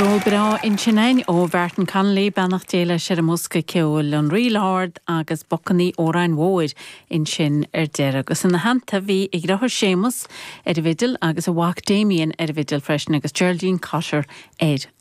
Ceol breá ansin againn ó Mhartin Connolly, beannacht Dé leis ar an mbosca ceoil, An Ríl Ard agus Bacannaí Óráin Mhóir ansin ar deireadh. Agus ina theannta bhí a dheartháir Séamus ar an bhfidil agus a mhac Damien ar an bhfidil freisin agus Geraldine Cotter ar.